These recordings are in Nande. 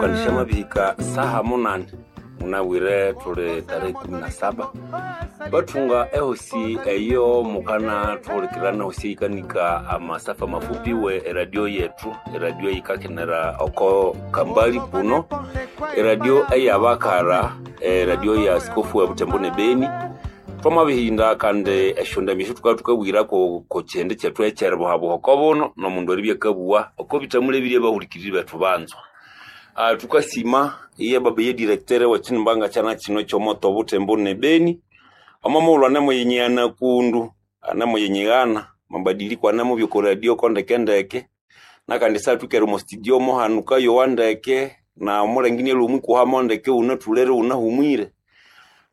Kandisha mabihika saha munane munabwire tuli tarehe 17 bathunga ehosi eyo mukana thuhulikirana hosi eyikanika amasafa mafupi we eradio yetu, eradio eyikakenera oko kambali kuno, eradio eyabakara, eradio ya askofu wa Butembo ne Beni. Twamabihinda kandi esyondambi esyo thukabya thukabwirako ko kyihindi kyethu ekyeribuhabuha oko buno nomundu eribya akabuwa oko bithamula ebirya abahulikiriri bethu banzwa. Thukasima iye baba ye directeur we kyinimbanga kyana kino ekyomoto Butembo ne Beni, omo mughulhu anemuyinyigana kundu, anemuyinyigana amabadiliko anemubya oko radio ko ndekendeke, nakandi isyathwikere omo studio mohanu kayowa ndeke, na omulengi inalhwa omwikuhamo ndeke iwunathulere iwunahumwire.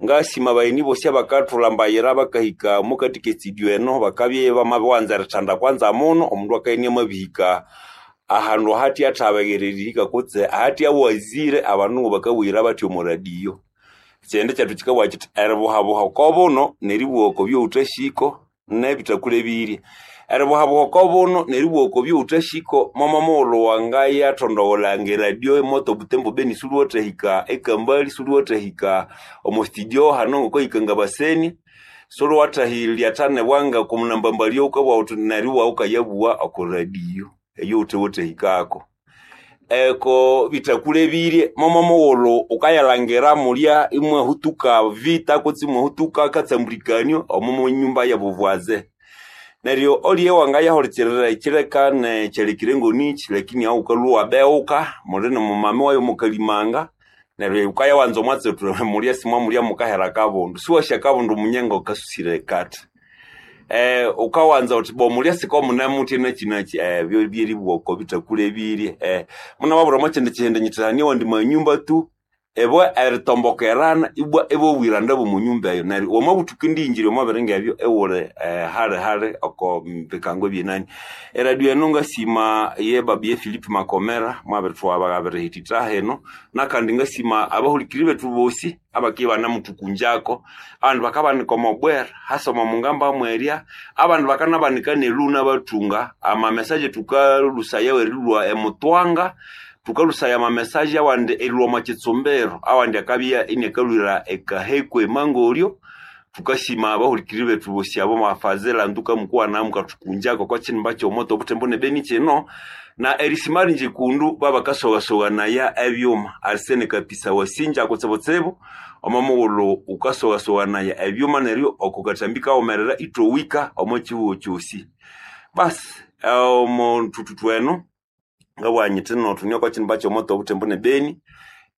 Ngasima abagheni bosi abakathulhambayira bakahika omokathika e studio eno bakabya ibamabiwanza erithanda kwanza muno, omundu akabya inamabihika ahandu ahathya athabeghererihika kutse ahathya awazire abandu ngabakabuyira bathya omo radio. Ekyihindi kyethu kyikabugha kyithi eribuhabuha oko buno neribugha oko byowuthasiko nebithakule ebirya. Eribuhabuha oko buno neribugha oko byowuthasiko momo mughulhu wangayathondogholanga eradio emoto Butembo Beni suliwathahika ekambali, suliwathahika omo studio hano ngokahika ngabaseni, suliwathahilyathana bwanga okomunambambalya wukabugha wuthi neryo iwawukayabuwa oko radio eyowuthewathahikako. Eko bithakule ebirye momo mughulhu wukayalhangira mulya imwahutuka vita kutse imwahutuka katsambulikanio omo munyumba yabuvwaze. Neryo olye wangayahulikirira ekyileka nekyalekire ngonichi lakini ahu wukalhwa iwabeghuka muli nomumami wayu mukalimanga neryo wukayawanza omwatsi wuthi mulya simwamulya mukahera akabundu. Siwasi akabundu munye ngakasusire ekathi. Wukawanza wuthi bo mulya sikomunemuthya nakyinakyi ebyo byeribugha oko bithakule ebirye. Munamabwira omo kyindi kyihindi nyithi hane awandi manyumba tu ibwa eritombokerana ibwa ibobwiranda bw'omo nyumba eyo neryo wamabuthuka indiyingira omo biringa ebyo iwuli hali hali oko bikango ebyenani. Eradio eno ngasima ye baba ye Philip Makomera mwabirithwaba abirihithitha hino nakandi ngasima abahulikiriri bethu bosi abakibya ibanamuthukunjako, abandu bakabanika omo bwera hasa omo mungamba mwerya, abandu bakanabanika neluna bathunga amamesaje thukalhusaya erilhwa emutwanga, thukalhusaya amamesaje awandi erilhwa omo kyitsumbiro, awandi akabya iniakalhwira ekaheko emangolyo. Thukasima abahulikiriri bethu bosi abo mwafazila nduka mukuwana mukathukunjako okwa kyinimba kyomoto Butembo ne Beni kino na erisima ringi kundu babakasogasoganaya ebyuma. Arsene Kapisa wasinja kutsibutsibu omo mughulhu wukasogasoganaya ebyuma neryo oko kathambi kaghumerera ithowika omo kyihugho kyosi. Basi omo thuthuthu eno ngabugha nyithi no thune oko kyinimba kyomoto Butembo ne Beni.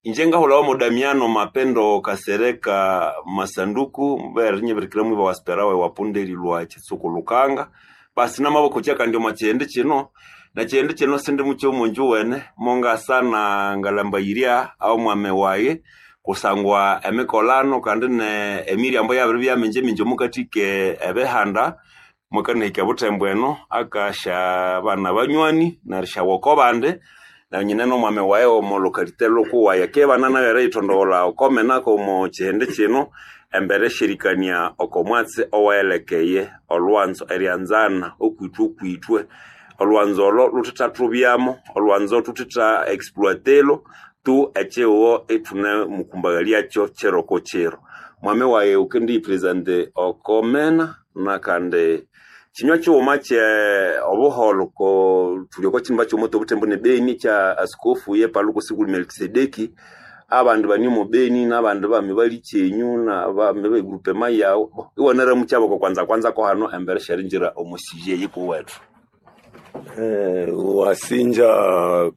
Inje ngahulhawa mo Damiano Mapendo Kasereka Masanduku mbere nyibirikira mwiba wa Sperawe wa punde erilhwa Kitsuku Lukanga. Basi namabakokya kandi omo kyihindi kino na kyihindi kino sindi mukyo omunju wene mongasana ngalambayirya omwami wayi kusangwa emikolano kandi ne emiryambo yabiribya mingi mingi omukathika ebihanda mwakanahika Butembo eno akasya bana banywani nerisyawa oko bandi na nyine nomwami wayi omo lokalite lhukuwayi akibana nayu eriyithondogholha okomenako omo kyihindi kino embere esyerikania oko mwatsi owayelekeye olhwanzo eryanzana okwithwe okwithwe. Olhwanzo olo luthithathubyamo, olhwanzo thuthitha exploitelo tu ekyihugho ithune mukumbaghalyakyo kiro ko kiro. Mwami wayi wukendiyipresente oko mena nakandi kinywa kighuma kye obuholho ko thuli oko kyinimba kyomoto Butembo ne Beni kya askofu ye Paluku Sikuli Melkisedeki. Abandu bane omo Beni nabandi bami balikyenyu nabami be groupema yawu iwanaramukyabo oko kwanza kwanza ko hano embere syeringira omo sije yikuwethu. Wasinja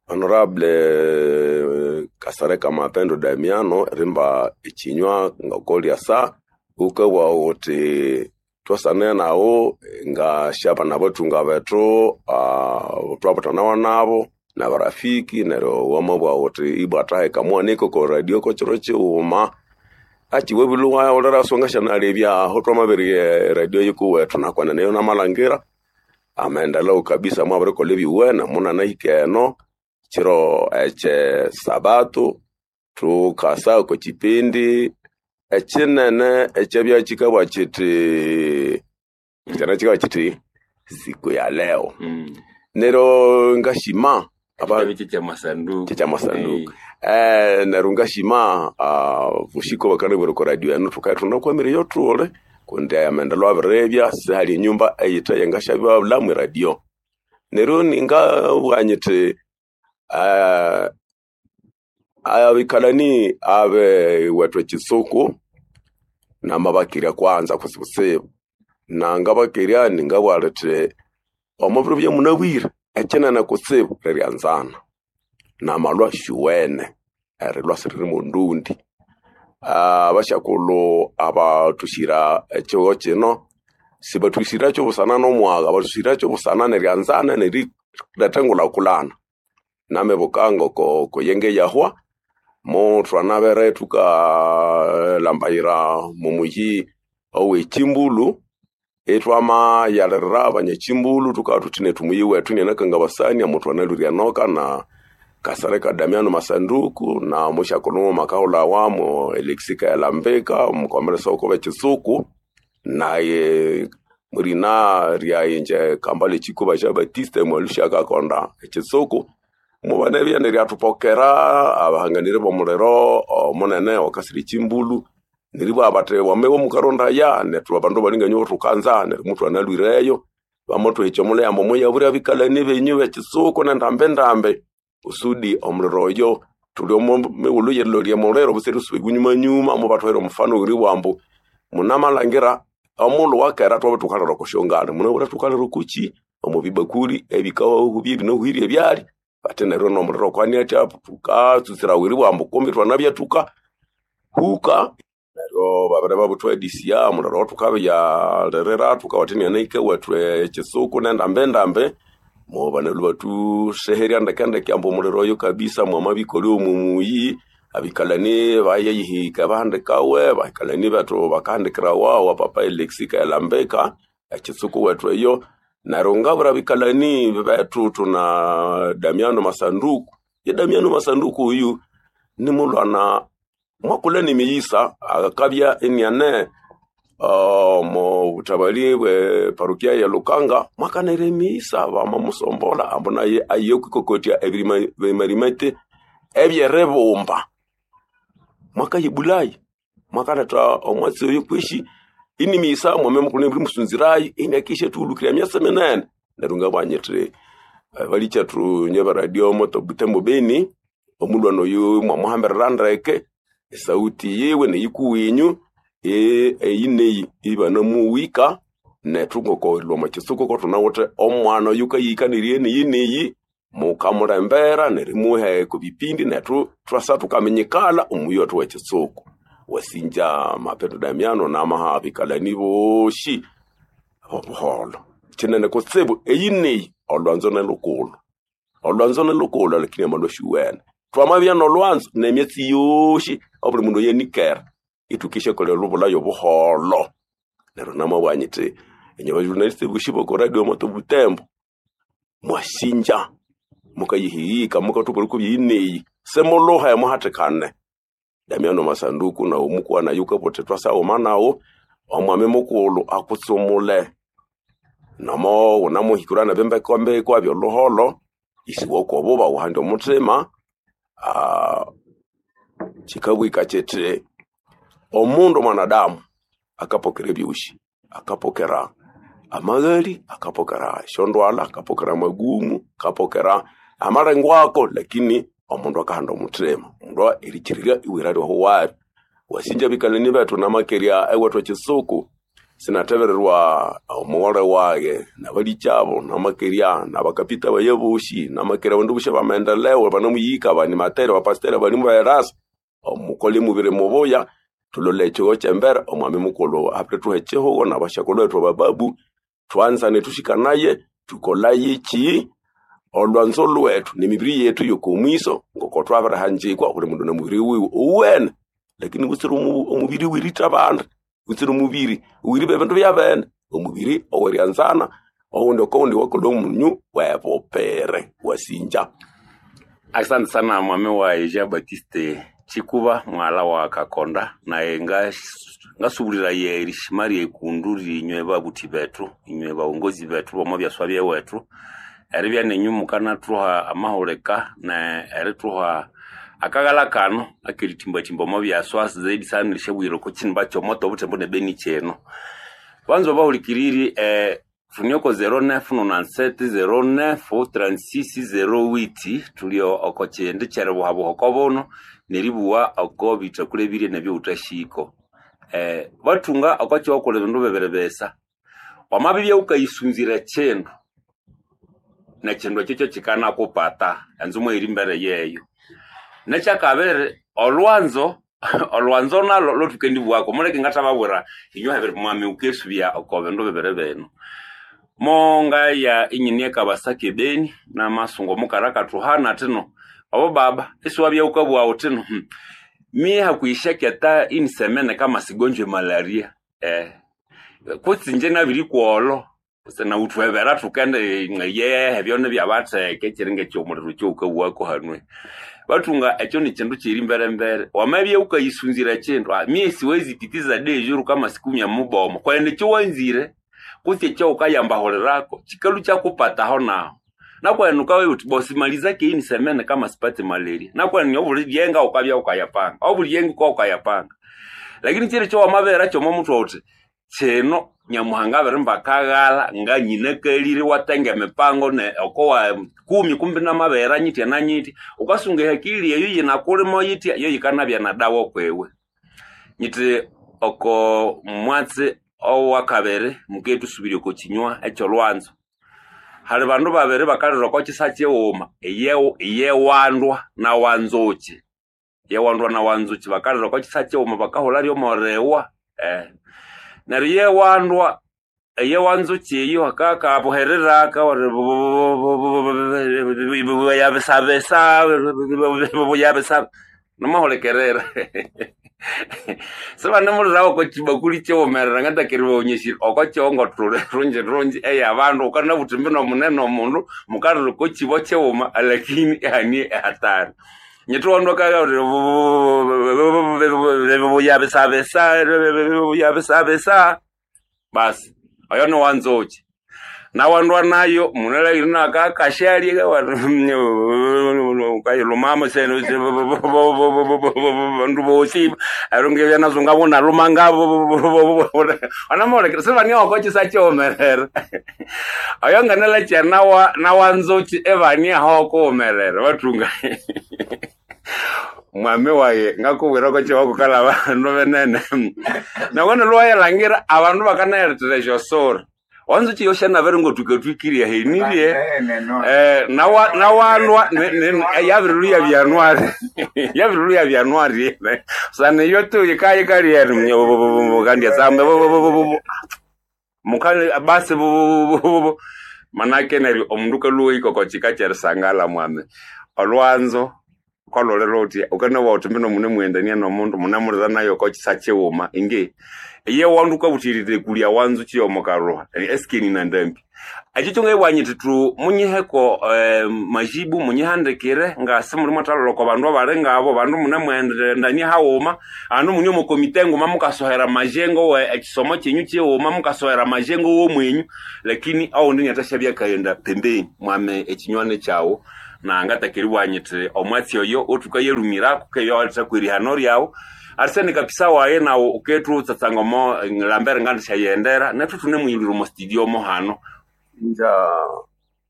Honorable Kasereka Mapendo Damiano rimba ekinywa ngokolyasa wukabugha wuthi thwasane naghu ngasyaba nabathunga bethu thwabuthanawa nabo nabarafiki neryo wamabugha wuthi ibwa thaheka muwanike oko radio kokyiro kighuma akiwabile iwahulira siwangasyanalebya aho twamabirigha eradio yikuwethu nakwenene eyo namalhangira amaendeleo kabisa mwabirikolha ebyuwene munanahika eno kiro ekye sabato thukasa oko kipindi ekinene ekyabya kikabugha kyithi kyana kikabugha kyithi siku ya leo. Neryo ngasima Ekitabu kya masanduku. Kya masanduku. Neryo ngashima bushiko bakanabwira oko radio eno thukabya ithunakwamire eyothuli kundi amaendeleo abiribya sihali enyumba eyithe yengasyabulha radio. Neryo ningabugha nyithi abikalani abewethu ekitsuku namabakerya kwanza kutsibutsibu nangabakerya ningabugha lithi omubiro ebyamunabwire ekyinene kutsibu lyeryanzana namalhwa syuwene erilhwa isiriri mondundi. Abasyakulhu abathusyira ekihugho kino sibathusyirakyo busana nomwagha bathusyirakyo busana neryanzana neriletha engulhakulhana. Namibuka ngoko yenge eyahwa mothwanabere thukalhambayira omumuyi owe Kimbulu ithwamayalirira abanyakimbulu thukabugha thuthi nethu omuyi wethu inianakangabasania mothwanalhwire enoka na Kasereka Damiano Masanduku na musyakulhu mughuma akahulhawa mo Alexis Kaelambika omukomeresa ghoko bekitsuku naye mulina ryayi ingye Kambale Kikuba Jean Baptiste Mwalusha akakonda ekitsuku mubanabya neryathupokera abahanganiri bomuliro omunene owakasira ekimbulu neribugha bathi wamabya mukarondaya nethu abandu balinganyu thukanza neryo muthwanalhwireyo bamathwahikya omulhi ambu muyabwire abikalani benyu bekitsuku nendambendambi kusudi omuliro oyo thuli omo mighulhu yerilolya omuliro butsira erisuba enyumanyuma mubathuhera omufano weribugha ambu munamalhangira omulhu wakera thwabya thukalira oko syongale munabwire thukalira okukyi omo bibakuli ebikahubya ebinahuhirye ebyalya bathi neryo nomuliro kwani athya thukatsutsirawa eribugha ambu kumbi thwanabya thukahuka neryo babere babuthwadisya omuliro thukabyalirira thukawathina inahika ewethu ekitsuku nendambendambi mobanalhwa bathusegherya ndekendeke ambu omuliro oyo kabisa mwamabikolya omumuyi abikalani bayayihika bahandikawe bahikalani bethu bakahandikirawa wa papa Alexis Kaelambika ekitsuku wethu eyo neryo ngabura abikalani bethu thuna Damiano Masanduku ye Damiano Masanduku uyu nimulhwana mwakulha nemiyisa akabya iniane omo buthabali bwe parokia ya Lukanga mwakanira emiyisa bamamusombolha ambu naye aye okwikokotya ebirimarimete ebyeribumba mwakayibulayi mwakaletha omwatsi oyo kwishi inimiyisa mwame mukulhu musunzirayo iniakisha thuhulukirya emyatsi minene neryo ngabugha nyithi balikyethu inye beradio moto Butembo Beni omulhwana oyu mwamuhambirira ndeke esauti yiwe neyikuwinyu eyi neyi ibanamuwika nethu ngokorilwa omo kitsuku kothunawithe omwana oyu kayihikanirie neyi neyi mukamulembera nerimuha okubipindi nethu thwasa thukaminyikala omuyi wethu wekitsuku. Wasinja Mapendo Damiano namaha abikalani boshi obuholho kinene kutsibu eyi neyi olhwanzo nelhukulhu olhwanzo nelhukulhu lakini amalhwa syuwene thwamabya nolhwanzo nemyatsi yosi obuli mundu eyanikera ithukisyakolha olhubulha yobuholho neryo namabugha nyithi inye bajournalist bosi boko radio moto Butembo mwasinja mukayihiyika mukathubwira okwa byeyineyi simulhuhe muhathikane. Damiano Masanduku nawu mukuwana yukabuthi thwasaghuma nawu omwami mukulhu akutsumule nomo wunamuhikirwa nebimbekambeko ebyolhuholho isiwa okobuba wuhande omuthima kyikabwika kyithi omundu mwanadamu akapokera ebyosi akapokera amaghali akapokera esyondwalha akapokera amagumu akapokera amalengwako lakini omundu akahanda omuthima omundu erikirirya iwira lyohuwali wasinja abikalani bethu namakerya ewethu ekitsuku sinathebererwa omughole wage nabalikyabo namakerya nabakapita baye bosi namakerya abandu bosi abamaendeleo abanamuyika abanimateri abapasiteri abalimu berasa omukole mubiri mubuya thulole ekihugho kyembere omwami mukulhu abirithuha ekihugho nabasyakulhu bethu abababu thwanzane thushikanaye thukolayeki olhwanzo lhwethu nemibiri yethu yokomwiso ngoko thwabirihanjikwa buli mundu nomubiri wiwe owuwene lakini butsira omubiri wiritha abandi butsira omubiri wiriba ebindu byabene omubiri oweryanzana owundi okowundi wakolha omunyu webupere wasinja. Asante sana mwami wa Jean Baptiste Chikuba mwala wa Kakonda naye ngasubulira ye erishima ryekundu rinywe babuthi bethu inywe baongozi bethu bomo byaswa byewethu Eribya nenyu mukanathuha amahulika ne erithuha akaghala kano akerithimbathimba omo byaswa zaidi sana erishabwira oko kinimba kyomoto obuthembo ne Beni kyino. Banza bahulikiriri tune oko 0997 09 36 08 tuli oko kyindi kyeribuhabuha oko buno neribuwa oko bithakulebirye nebyowuthashiko. Bathunga oko kyokulha ebindu bibiri bisa. Wamabibya wukayisunzira ekindu nekindu ekyo kyokikanakupata enzu mwayiri embere yeyo. Nekyakabiri olwanzo olwanzo nalo lothukendibuwako muleke ngathababwira inywe habiri mwami wukesubya oko bindu bibiri bino. Mongaya inyine ekabasaka ebeni namasungu omukara akathuhana athino obo baba isiwabya wukabugha wuthino mie hakuishaketa inisemene kama sigonjwe malaria kutse inje nabirikugholo nawuthuhebera thukende yehe byone byabatheke kyiri ngekyomuliro kyowukabugha hanwe. Bathunga ekyo nikindu kyiri mberembere wamabya wukayisunzira ekindu mie siwezi pitiza dejuru kama sikumya mubomo kwene ekyowanzire kutse ekyowukayambahulirako kikalhu kyakupataho nahu. Nakwene wukabya wuthi bo simalizake inisemene kama sipate malaria nakwene obuli lyenga wukabya wukayapanga obuli lyenga wukabya wukayapanga. Lakini kyiri ekyowamabera kyomo muthwe wuthi kino Nyamuhanga abirimba akaghala nganyinakalire iwatenga emipango ne okowa kumi kumbi namabera nyitya na nyitya wukasunga ehakili eyo yinakulimo yitya yo yikanabya na dawa kwiwe. Nyithi oko mwatsi owakabiri mukethusubirya oko kinywa ekyolwanzo. Hali bandu babiri bakalira oko kisa kighuma iyewandwa na wanzukyi. Iyewandwa na wanzukyi bakalira oko kisa kighuma bakahulha lyomoriwa. Neryo iyewandwa eyewanzukyi eyo akakabuherera yabisabisa yabisaba namahulikirira. Sibanemulirawo oko kibakuli kyighumerera ngatakeribaghonyesya oko kyongothule rungi rungi eyabandu wukanabuthi mbino munene omundu mukalira oko kibo kighuma lakini ihanie ehatari. Nyithi wandu akabya yabisabisa yabisabisa basi oyo niwanzukyi. Nawandwa nayo munalabire nakakashalye kayilhumamo bandu bosi neryo ngebya nazo ngabunalhuma ngabo wanamuhulikirira sibania oko kisa kyighumerera. Oyo nganalakya nawanzukyi ibania aho okughumerera bathunga. Mwami wayi ngakubwira oko kihugho kukalha abandu binene. Nawana lhwayalhangira abandu bakanayilethera esyosura. Wanzukyi yosyanabere ngothukathwikirye ahenirye nawandwa yabirilhuya byanwari yabirilhuya byanwari sana iyo tu yikayikalye kandi etsamba mukali basi manake neryo omundu kalhuwa oko kika kyerisangala mwami. Olwanzo kwalolera uthi wukanowa wuthi mbino munemughendania nomundu munemulira nayo oko kisa kighuma ingi iye wandu wukabuthirira ekulya wanzukyi yomo kalhuha esikeni nandambi. Ekyo kyongayibugha nyithi thu munyiheko majibu munyihandikire ngasi muli mwathalolha oko bandu abali ngabo bandu munemughendania haghuma abandu mune omo komite nguma mukasohera majengo we ekisomo kyenyu kighuma mukasohera majengo womwenyu lakini awundi inathasyabya akaghenda pembeni mwame ekinywani kyaghu na ngatakeriibugha nyithi omwatsi oyo othukayalhumirako keyawalethaku erihano lyaghu arisene kapisa wayi nawu wukethutsatsa omo lambere ngandisyayihendera nethu thunemuyilhwira omo studio mo hano. Nja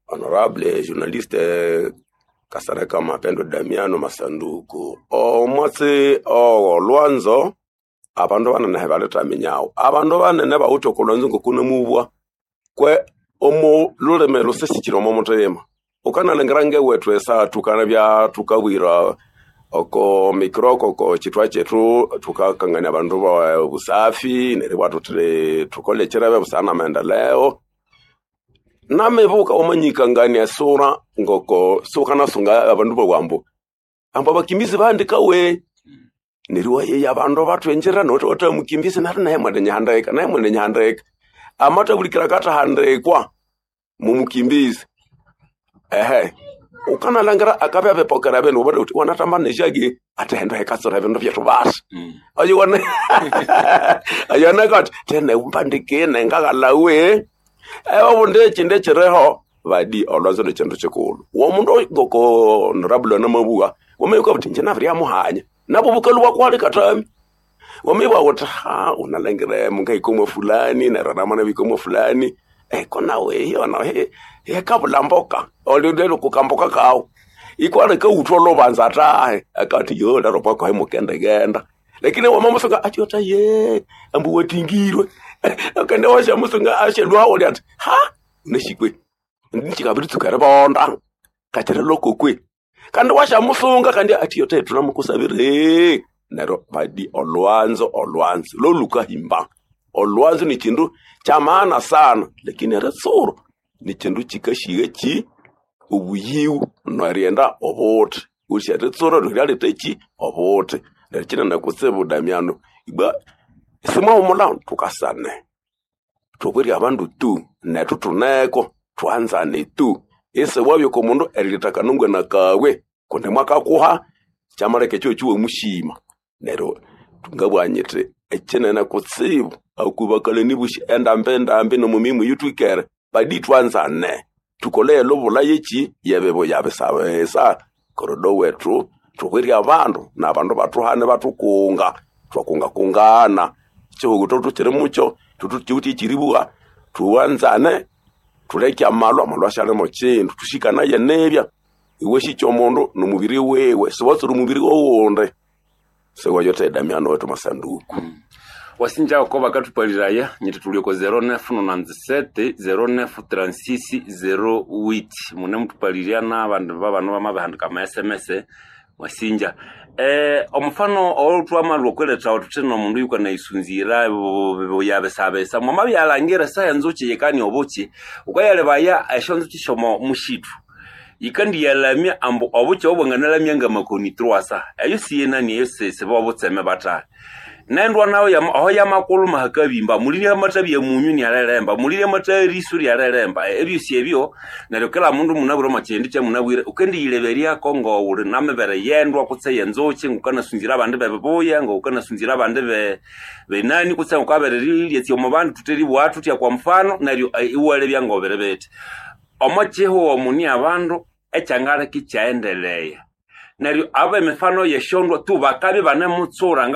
honorable journaliste Kasereka Mapendo Damiano Masanduku omwatsi ogolwanzo abandu banene balithaminyagho abandu banene bawithe okolwanzo ngokunemubwa kwe omo lulimi lusisikire omo muthima. Wukanalhangira ngewethu esa thukanabya thukabwira oko mikroko oko kithwa kyethu thukakangania abandu ba busafi neribwa thuthi thukole ekirebe busana namaendeleo. Namibuka wamanyikangania esura ngoko siwukanasunga abandu babugha ambu ambu abakimbizi bahandikawe neryo iwayeya abandu bathwengyera nowuthi wathamukimbizi neryo naye mwenenyihandika naye mwenenyihandika amathabulikira akathahandikwa mumukimbizi. Ehe wukanalhangira akabya abipokera ebindu wabana wuthi wanathamba nesyaki athihenda hikatsira ebindu byethu basi. Oyo oyo nakathi thene mbandikine ngaghalhawe obundi ekyindi ekyiriho Badi olwanzo ni kindu kikulu. Womundu ngoko honorable anamabuwa wameyuka buti inje nabiryamuhanya nabo bukalu bwakwali katami. Wameyibwa wuthi ha unalangire mungahika fulani neryo namana bika fulani eko nawe iyo nawe yekabula mboka olindelo kukamboka kawo ikwale kauthwa lobanza atahe akati yo lero pako himukendegenda. Lakini wamamusunga achiota ye ambu watingirwe akende washa musunga ashelwa oli ati ha uneshikwe ndichikabiritsuka ribonda kachira lokokwe kandi washa musunga kandi atiyote tunamukusabire nero badi olwanzo olwanzo lolukahimba. Olwanzo ni chindu cha maana sana, lakini eritsuro ni chindu chikashiga chi obuyiwu nerienda obuthi usi eritsuro liryaleta chi obuthi. Neryo kinene kutsibu Damiano ibwa simwahumula tukasane thubwire abandu tu nethu thuneko thwanzane tu isi wabya oko mundu erileta kanungwana kawe kundi mwakakuha kyamaleka ekyo kiwamushima. Neryo ngabugha nyithi ekinene kutsibu akubakalani bosi endambi endambi nomu mimu eyithwikere badi thwanzane thukole elubula yeki yebibuya bisabisa korodo wethu thubwire abandu nabandu bathuhane bathukunga thwakungakungana ekihugho thukiri mukyo thukiwithe ekyiribuwa thuwanzane thuleke amalwa amalwa asyalimo kindu thusikanaye nibya iwasikya omundu nomubiri wiwe siwatsira omubiri wowundi siwayothe Damiano wethu masanduku. Wasinja ko bakatupaliraya nyiti tulioko 0997 0936 08 mune mutupalirya n'abandu babano bamabihandika ama SMS wasinja omufano olutwamalwa okweletha thuthi nomundu yukanaisunzira buyabesabesa mwamabyalangira saha enzuki yikani obuki ukayalebaya esyonzuki syomo mushitu yikandiyalamya ambu obuki obwanganalamya ngamakoni truasa eyo siyenani eyo siba obutseme batali nendwa nayo aho yamakulu mahakabimba mulirya amatabi ya munyu nialelemba mulirya amata erisu lyalelemba ebyosi ebyo neryo kila mundu munabwire omo kyindi kyamunabwire ukendiyileberyako ngowuli namibere yendwa kutse yenzuki ngukanasunzira abandi bebibuya ngukanasunzira abandi benani kutse ngukabererirya omu bandu thuteribugha thuthya kwa mfano neryo iwalebya ngobere bithi omo kihugho muni abandu ekyangaleka ikyaendeleya. Neryo aba emifano yeshondwa tu bakabya banemutsura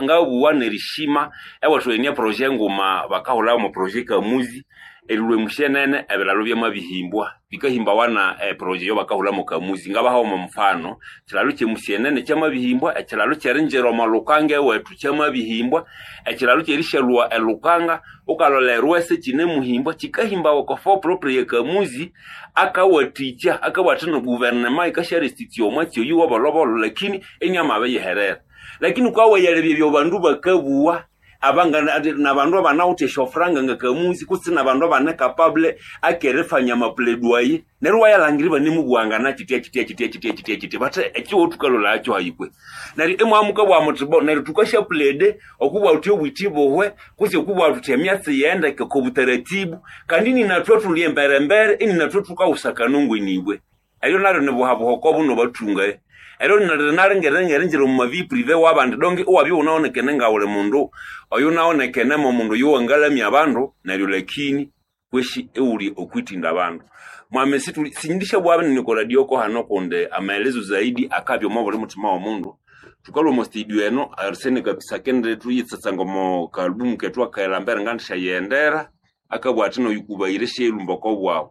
ngabuwa nerishima ewethu enie proje nguma bakahulha omo proje kamuzi erilwa emushenene ebilalo byamabihimbwa bikahimbawa na proje yo bakahulha mu kamuzi ngabaha omo mfano ekilalo kyemushenene kyamabihimbwa ekilalo kyerinjira omo lukanga ewethu kyamabihimbwa ekilalo kyerishalwa elukanga ukalolha erwese kyinemuhimbwa kikahimbawa oko fo propre kamuzi akawathikya akawathina guvernema yikasyarestitute omwatsi oyu wobolobolo lakini enyamabiyiherera. Lakini ukawayalebya ebyo bandu bakabuwa abanga nabandu abanawithe esyofuranga ngakamuzi kutse nabandu abane capable akerifanya amapledwaye neryo iwayalangira ibanemubuwangana kitya kitya kitya kitya kitya kitya bathe ekihugho thukalolhayakyo hayikwe. Neryo imwamuka muthi bo neryo thukasyaplede okubugha thuthi obwiti buhwe kutse okubugha thuthi emyatsi yendeke oko butaratibu kandi ninathwe thuli emberembere ininathwe thukawusakana ngwenibwe. Eryo naryo nibuhabuha buno bathunga eryo nalingerengerinjira omu mavi prive wabandi donge iwabya iwunawonekene ngawuli mundu oyu nawonekene mo mundu yuwangalamya abandu neryo lakini kweshi iwuli okwitinda abandu. Mwami sindishabugha binene oko radio ko hano kundi amaelezo zaidi akabya omo buli muthima womundu. Thukalhwa omo studio eno arisene kabisa kende thuyitsatsanga omo kaalubumu kethu akaelambere ngandishyayendera akabugha athi noyukubayire syerumba oko bwawu.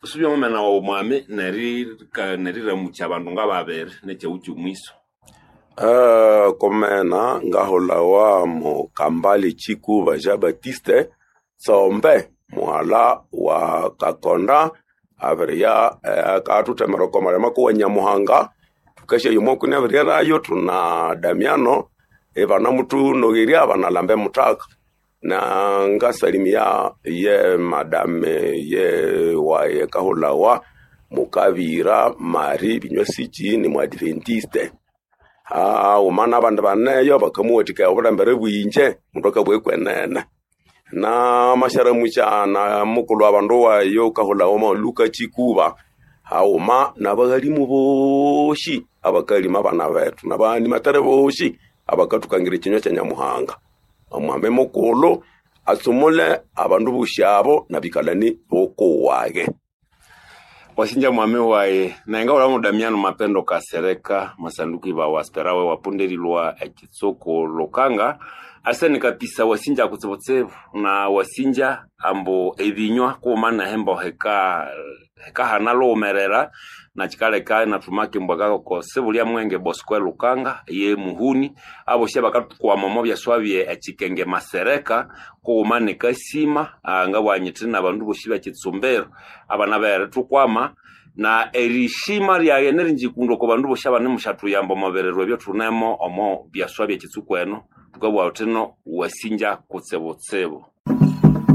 Usubya omumena wawu mwami neriramukya abandu ngababiri nekyaghu kyomwiso. Komena ngahulhawa mu Kambale Chikuba Jean Baptiste Tsombe muhala wa Kakonda abiriya akathuthemera oko malima kuwa Nyamuhanga thukasyayo omwakuni abiryerayo thuna Damiano ibanamuthunogherya banalamba emuthaka na ngasalimia ye madame ye waye kahulhawa Mukabira Mari Binywasiki ni muadventiste. Haghuma n'abandi baneyo bakamuwathikaya obulembere bwinje mundu akabugha ekwenene. Na masyaramukya na mukulhu abandu wayo kahulhawa Maluka Chikuba haghuma n'abaghalimu bosi abakalima abana bethu n'abanimathere bosi abakathukangira ekinywa kya Nyamuhanga. Omwami mukulhu atsumule abandu bosi abo nabikalani bokuwage. Wasinja mwami waye nenga ulamu Damiano Mapendo Kasereka masanduku iba wasperawe wapunderilwa ekitsuku Lukanga aseni kapisa wasinja kutsibutsibu na wasinja ambu ebinywa kuuma nehembo heka hekahana luwumerera na kikaleka inathuma kimbwa kako sibulya mwenge Bosco Lukanga ye muhuni abosi abakathukwama omo byaswabye ekikenge masereka kughuma nekasima ngabwanyithi nabandu bosi bekitsumbiro abana berithukwama na erishima lyaye nerinjikundo oko bandu bosi abanemusyathuyamba omo biriro ebyo thunemo omo byaswa byekitsuku eno thukabugha thuthino wasinja kutsibutsibu.